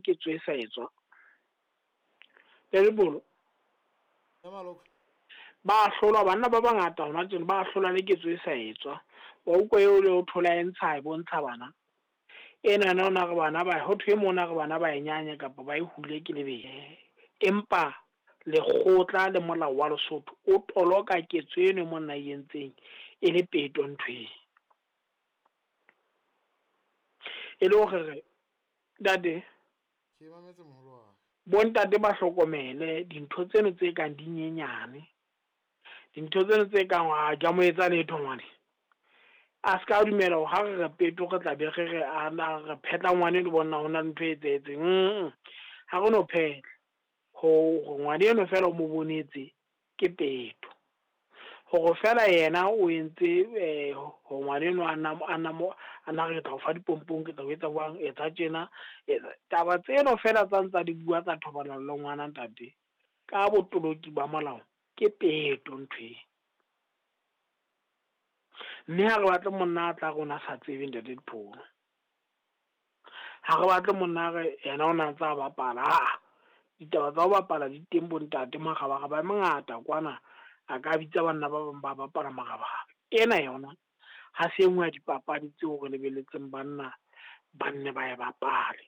Ketso e sa etswa. Ntate Ba hlolwa banna ba bangata hona tjena ba hlolwa le ketso e sa etswa. Wa utlwa eo le o thola e ntsha e bontsha bana. Enana o na re bana ba ho thwe e mona re bana ba e nyanya kapa ba e hule ke lebele. Empa lekgotla le molao wa Lesotho o toloka ketso eno monna e entseng e le peto nthweng. E le hore re ntate Ke mametse moholo wa ka. Bontate ba hlokomele dintho tseno tse kang di nyenyane. Dintho tseno tse kang ha ke a mo etsa letho ngwane. A ska dumela hore ha re re peto re tla be re re ana re phetla ngwane le bona hona le ntho e etsahetseng. Ha re no phetla. Hore ngwane eno fela o mo bonetse ke peto. Hore fela yena o entse hore ngwane eno a nna re tla o fa dipompong, ke tla o etsa jwang, etsa tjena. Taba tseno fela tsa ntsa di bua tsa thobalano le ngwana ntate, ka botoloki ba molao ke peto ntho e. Mme ha re batle monna a tla rona sa tsebe ntate Dipholo. Ha re batle monna re yena o na ntsa bapala. Aa, ditaba tsa ho bapala di teng bo ntate, marabaraba a mangata kwana. A ka bitsa banna ba bang ba bapala marabaraba. Ena yona ha se e nngwe ya dipapadi tseo re lebelletseng banna ba nne ba e bapale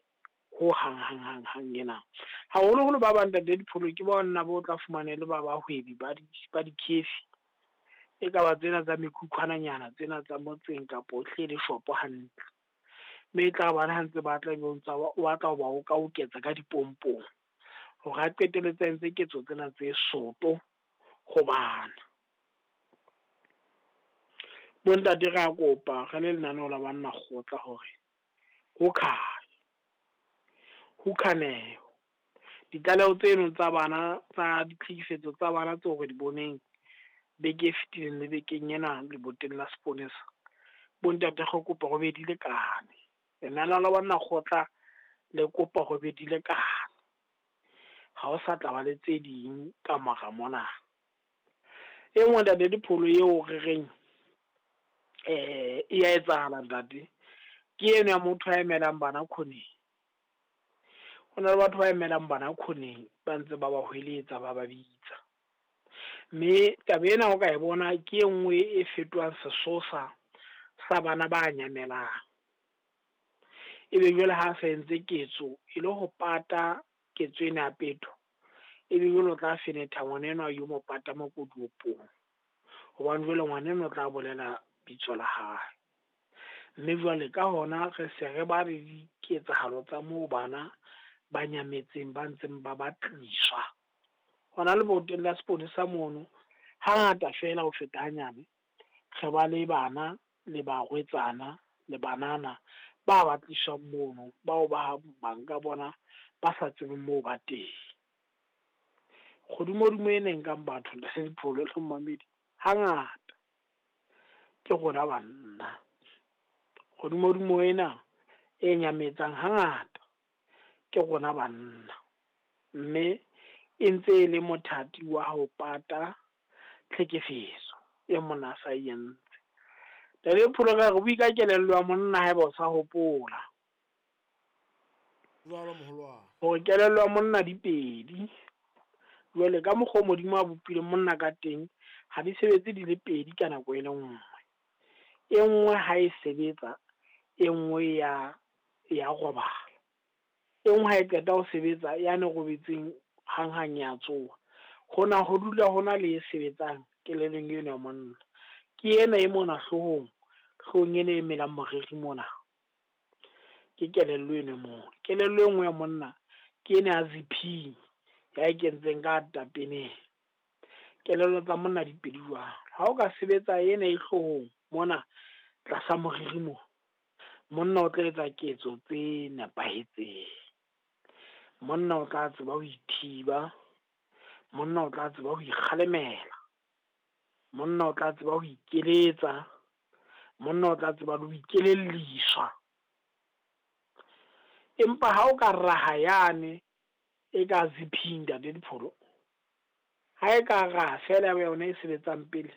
ho hang hang hang hang ena. Haholoholo ba bang ntate Dipholo ke banna bo tla fumana le ba bahwebi ba di-cafe. E ka ba tsena tsa mekhukhwananyana tsena tsa motseng kapa o hle le shopo hantle. Mme e tla bana ha ntse ba tla ebe o ntsa o batla ho ba o ka oketsa ka dipompong hore a qetelletse a entse ketso tsena tse soto ho bana. Bontate re a kopa re le lenaneo la banna kgotla hore ho khale, ho khaneho. Ditlaleho tseno tsa bana tsa ditlhekefetso tsa bana tseo re di boneng beke e fetileng le bekeng ena leboteng la seponesa. Bontate re kopa ho be di lekane. Lenaneo la banna kgotla le kopa ho be di lekane. Ha o sa tla ba le tse ding ka mora mona. E nngwe ntate Dipholo eo re reng e ya etsahala ntate, ke eno ya motho a emelang bana khoneng. Ho na le batho ba emelang bana khoneng ba ntse ba ba hweletsa ba ba bitsa. Mme taba ena o ka e bona ke e nngwe e fetohang sesosa sa bana ba nyamelang. Ebe jwale ha sa entse ketso e le ho pata ketso ena ya peto, ebe jwale o tla fenetha ngwana enwa yo mo pata makotiopong. Hobane jwale ngwana enwa o tla bolela bitso la hae. Mme jwale ka hona re se re ba le diketsahalo tsa moo bana ba nyametseng ba ntseng ba batliswa. Hona leboteng la seponesa mono, hangata fela ho feta hanyane, re ba le bana le barwetsana le banana ba batliswang mono, bao ba bang ka bona ba sa tsebeng moo ba teng. Kgodumodumo ena e nkang batho ntate Dipholo le mmamedi, hangata ke rona banna. Kgodumodumo ena e nyametsang hangata ke rona banna. Mme e ntse e le mothati wa ho pata tlhekefetso e monna a sa e entse. Ntate Dipholo re bue ka kelello ya monna haeba o sa hopola. Jwalo moholo wa ka. Hore kelello ya monna di pedi. Jwale ka mokgwa o Modimo a bopileng monna ka teng, ha di sebetse di le pedi ka nako e le nngwe. E nngwe ha e sebetsa, e nngwe ya robala. E nngwe ha e qeta ho sebetsa yane robetseng hanghang ya tsoha. Hona ho dula hona le e sebetsang kelellong eno ya monna. Ke ena e mona hloohong, hloohong ena e melang moriri mona. Ke kelello eno mona. Kelello e nngwe ya monna ke ena ya ziphing, ya e kentseng ka tapeneng. Kelello tsa monna di pedi jwalo. Ha o ka sebetsa ena e hloohong mona tlasa moriri mona, monna o tla etsa ketso tse nepahetseng. Monna o tla tseba ho ithiba, monna o tla tseba ho ikgalemela, monna o tla tseba ho ikeletsa, monna o tla tseba le ho ikelelliswa. Empa ha o ka raha yane e ka ziphing ntate Dipholo, ha e ka raha fela ya yona e sebetsang pele,